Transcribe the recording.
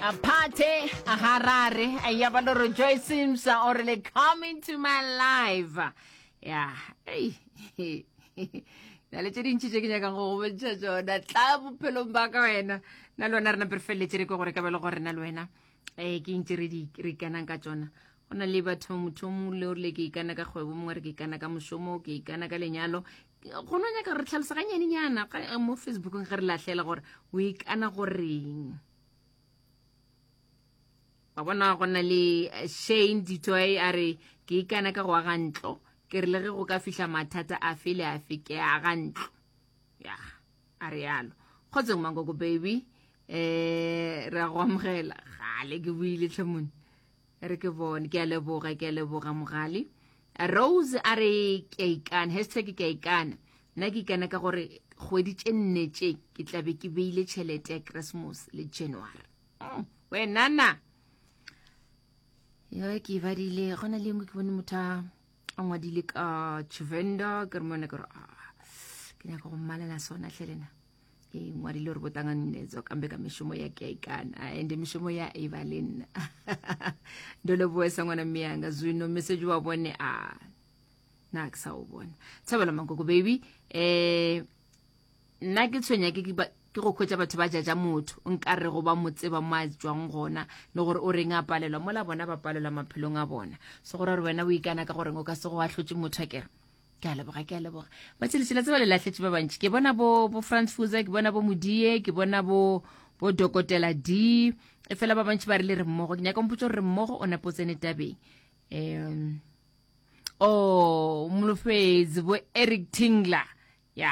A party a Harare ya ba loro Joy Sims o re le coming to my life. Ya, ei. Na le tše dintši tše ke nyakang go go bontšha tšona tla bophelong ba ka wena. Na le wena re nape re feleletše re kwe gore ka ba le gore na le wena eh ke eng tše re di re ikanang ka tšona. Go na le batho motho o mongwe le o rile ke ikana ka kgwebo, mongwe re ke ikana ka mošomo, ke ikana ka lenyalo. Go no nyaka re tlhalosa ganyanenyana mo Facebookong ge re lahlela gore o ikana goreng. Wa bona go na le eh, Shane Ditoy a re ke ikana ka go aga ntlo. Ke re le ge go ka fihla mathata afe le afe ke aga ntlo. Ya, a re yalo. Kgotsong Mankoko baby. Eh re a go amogela. Gale ke buile tlhomone. Re ke bone ke a leboga ke a leboga mogale. Rose a re ke a ikana hashtag ke a ikana. Nna ke ikana ka gore kgwedi tše nne tše ke tla be ke beile tšhelete ya Christmas le January. Mm, wena na yo ke e badile go na le engwe ke bone motho a a ngwadile ka Tshivenda ke re mone ke re ah, ke nyaka go mmalela sona hle lena e ngwadile gore botanganetso kambe ka mešomo ya ke a ikana ende mešomo ya e ba le nna ndo leboesa ngwana mme yanga zwino message wa bone a na ke sa o bona thabela mankoko baby eh nna ke tshwenya ke ke go khwetša batho ba jaja motho nka re go ba mo tseba mo a tswang gona le gore o reng a palelwa mola bona ba palelwa maphelong a bona so gore gore wena o ikana ka goreng o ka se go ahlotše motho a kere ke a leboga ke a leboga batšheletšhela tseba le lahletše ba bantši ke bona bo bo Frans Fuza ke bona bo Modie ke bona bo bo Dokotela D e fela ba bantši ba re le re mmogo ke nyaka mpotsa gore re mmogo o napo tsene tabeng um oh molofetsi bo Eric Tingler.